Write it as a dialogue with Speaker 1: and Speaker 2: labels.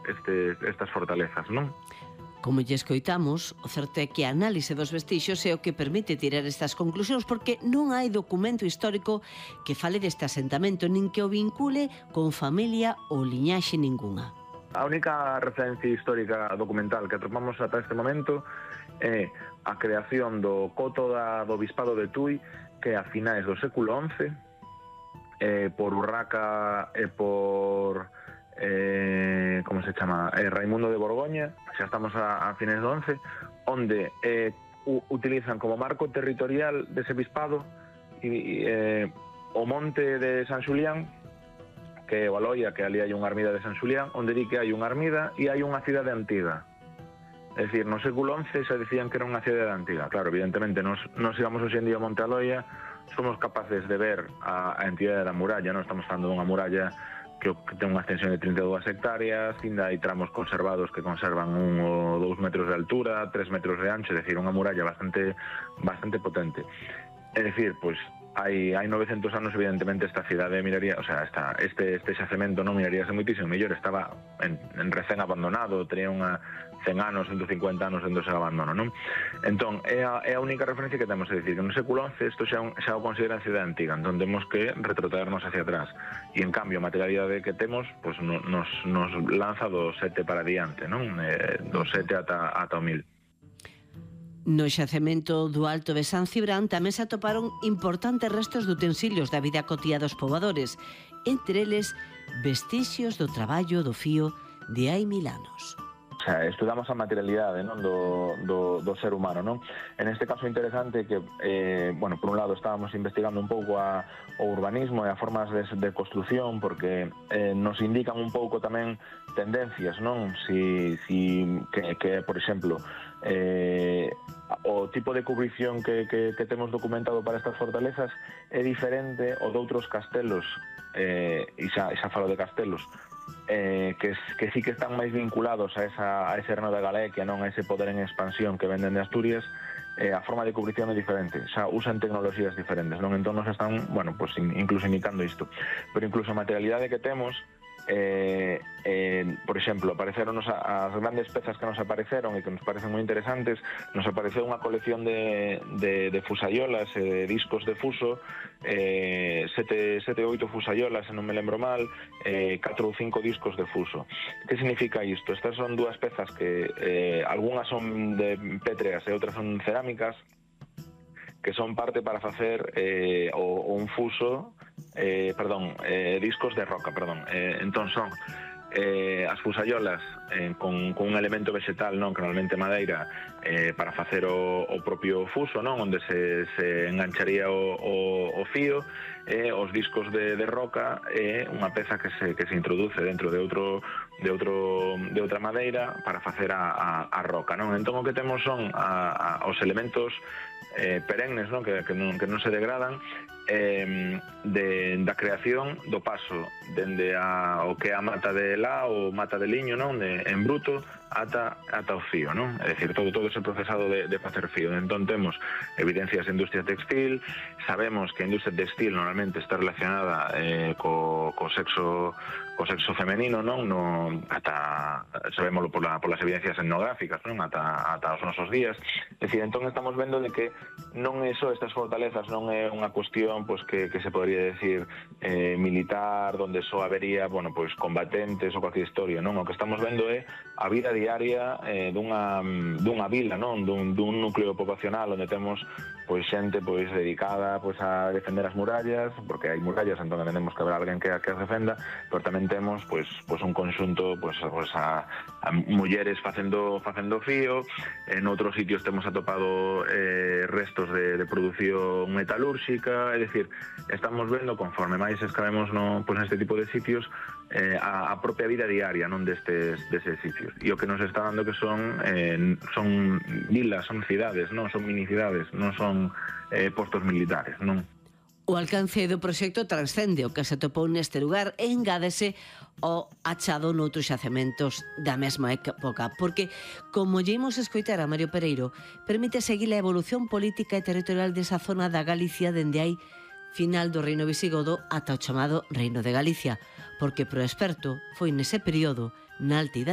Speaker 1: estas fortalezas, non?
Speaker 2: Como lle escoitamos, o certo é que a análise dos vestixios é o que permite tirar estas conclusións, porque non hai documento histórico que fale deste asentamento, nin que o vincule con familia ou liñaxe ningunha.
Speaker 1: A única referencia histórica documental que atopamos ata este momento é a creación do coto do Bispado de Tui, que a finais do século XI, por Urraca e por como se chama, Raimundo de Borgoña, xa estamos a finais do XI, onde utilizan como marco territorial dese bispado o monte de San Xulián, que é o Aloia, que ali hai unha ermida de San Xulián, onde di que hai unha ermida e hai unha cidade antiga. É dicir, no século XI se decían que era unha cidade antiga. Claro, evidentemente, nos íbamos hoxe en día a Monte Aloia, somos capaces de ver a entidade da muralla, non estamos falando dunha muralla que ten unha extensión de 32 hectáreas, ainda hai tramos conservados que conservan 1 ou 2 metros de altura, 3 metros de ancho, é dicir, unha muralla bastante potente. É dicir, pois, hai 900 anos, evidentemente, esta cidade miraría, o sea, este xacemento non miraríase moitísimo mellor, estaba en recén abandonado, tenía unha 100 anos, 150 anos dentro dese abandono, non? Entón, é a única referencia que temos, é dicir, que no século XI isto xa o consideran cidade antiga, entón temos que retrotraernos hacia atrás, e en cambio a materialidade que temos pues, nos lanza do 7 para diante, non? Do 7 ata o 1000.
Speaker 2: No xacemento do Alto de San Cibrán tamén se atoparon importantes restos de utensilios da vida cotiá dos pobadores, entre eles vestixios do traballo do fío de hai 1000 anos.
Speaker 1: O sea, estudamos a materialidade, non, do ser humano, non? En este caso interesante que, bueno, por un lado estábamos investigando un pouco o urbanismo e as formas de construción, porque nos indican un pouco tamén tendencias, non? Que por exemplo, o tipo de cubrición que temos documentado para estas fortalezas é diferente ao de outros castelos, e xa falo de castelos, que sí que están máis vinculados a ese reino da Galequia, non a ese poder en expansión que venden de Asturias. A forma de cubrición é diferente, xa usan tecnoloxías diferentes, non? Entón nos están, bueno, pues incluso imitando isto, pero incluso a materialidade que temos, por exemplo, apareceronos as grandes pezas que nos apareceron e que nos parecen moi interesantes. Nos apareceu unha colección de fusayolas, discos de fuso, 7 ou 8 fusayolas, se non me lembro mal, 4 ou 5 discos de fuso. Que significa isto? Estas son dúas pezas que algunhas son de pétreas e outras son cerámicas, que son parte para facer un fuso, discos de roca, entón son as fusayolas con un elemento vegetal, non, que normalmente madeira, para facer o propio fuso, non, onde se engancharía o fío, os discos de roca é unha peza que se introduce dentro de outra madeira para facer a roca, non? Entón o que temos son os elementos perennes, non, que non se degradan, da creación do paso dende o que é a mata de lá ou mata de liño, non, en bruto ata o fío, non? É dicir, todo ese procesado de facer fío. Entón temos evidencias de industria textil, sabemos que a industria textil normalmente está relacionada co sexo femenino, non? Ata sabémoslo por las evidencias etnográficas, non? Ata os nosos días. É dicir, entón estamos vendo de que non é só estas fortalezas, non é unha cuestión pues, que se podría decir militar, donde só habería, bueno, pues, combatentes ou cualquier historia, non? O que estamos vendo é a vida diaria dunha vila, non? Dun núcleo poblacional onde temos pois xente pois dedicada pois a defender as murallas, porque hai murallas, entón temos que haber alguén que as defenda, pero tamén temos pois un conxunto pois a mulleres facendo fío. En outros sitios temos atopado restos de produción metalúrxica, é dicir, estamos vendo conforme máis escavemos neste tipo de sitios a propia vida diaria, non, deses sitios. E o que nos está dando que son vilas, son cidades, non son minicidades, non son postos militares, non?
Speaker 2: O alcance do proxecto transcende o que se atopou neste lugar e engádese o achado noutros xacementos da mesma época, porque, como lle imos escoitar a Mario Pereiro, permite seguir a evolución política e territorial desa zona da Galicia dende hai final do reino visigodo ata o chamado Reino de Galicia, porque pro experto foi nese período, na altidade